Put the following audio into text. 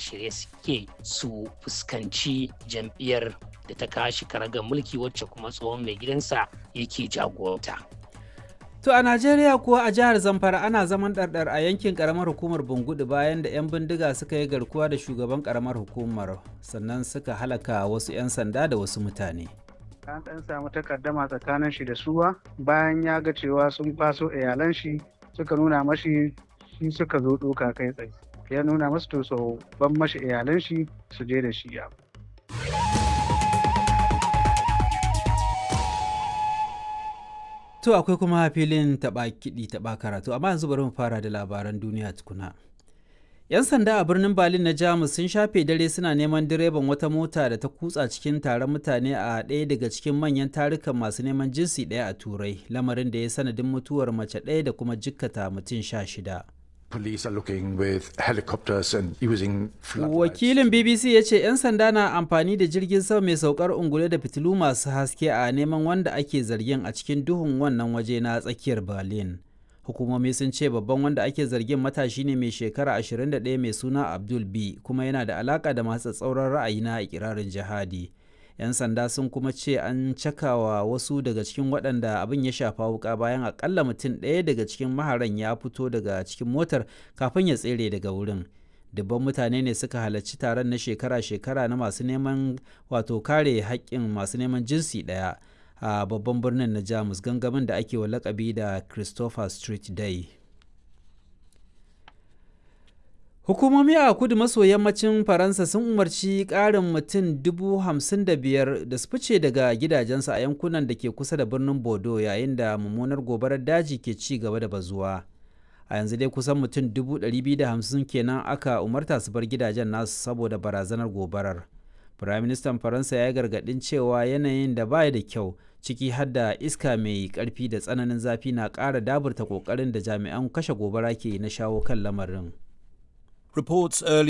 shirye suke su fuskanci jam'iyyar da ta kashi karagar mulki wacce kuma tsohon mai gidansa yake jagoranta. To a Najeriya kuwa, a jihar Zamfara ana zaman ɗarɗar a yankin ƙaramar hukumar Bungudu bayan da 'yan bindiga suka yi garkuwa da shugaban ƙaramar hukumar, sannan suka halaka wasu 'yan sanda da wasu mutane. An ɗan samu takaddama tsakanin shi da suwa bayan ya ga cewa sun kwaso iyalan shi, suka nuna mashi shi suka zo ɗoka kai tsaye. Ya nuna masu to so ban mashi iyalan shi su je da shi ya. To akwai kuma filin taɓa kiɗi taɓa karatu, amma yanzu bari mu fara da labaran duniya tukuna. 'Yan sanda a birnin Berlin na Jamus sun shafe dare suna neman direban wata mota da ta kutsa cikin taron mutane a ɗaya daga cikin manyan tarukan masu neman jinsi ɗaya a Turai, lamarin da ya sanadin mutuwar mace ɗaya da kuma jikkata mutum 16. Police are looking with helicopters and using floodlights. Wakilin BBC ya ce 'yan sanda na amfani da jirgin sama mai saukar ungulu da fitilu masu haske a neman wanda ake zargin a cikin duhun wannan waje na tsakiyar Berlin. Hukumomi sun ce babban wanda ake zargin matashi ne mai shekara 21 mai suna Abdul B, kuma yana da alaka da masu tsatsauran ra'ayi na ikirarin jihadi. 'Yan sanda sun kuma ce an cakawa wasu daga cikin waɗanda abin ya shafa wuka bayan akalla mutum ɗaya daga cikin maharan ya fito daga cikin motar kafin ya tsere daga wurin. Dubban mutane ne suka halarci taron na shekara-shekara na masu neman wato kare haƙƙin masu neman jinsi ɗaya a babban birnin na Jamus, gangamin da ake wa lakabi da Christopher Street Day. Hukumomi a kudu maso yammacin Faransa sun umarci ƙarin mutum 55,000 da su fice daga gidajensu a yankunan da ke kusa da birnin Bordeaux yayin da mummunar gobarar daji ke ci gaba da bazuwa. A yanzu dai kusan mutum 250,000 kenan aka umarta su bar gidajen nasu saboda barazanar gobarar. Firaministan Faransa ya yi gargaɗin cewa yanayin da baya da kyau, ciki har da iska mai ƙarfi da tsananin zafi, na ƙara daburta ƙoƙarin da jami'an kashe gobara ke na shawo kan lamarin. Reports earlier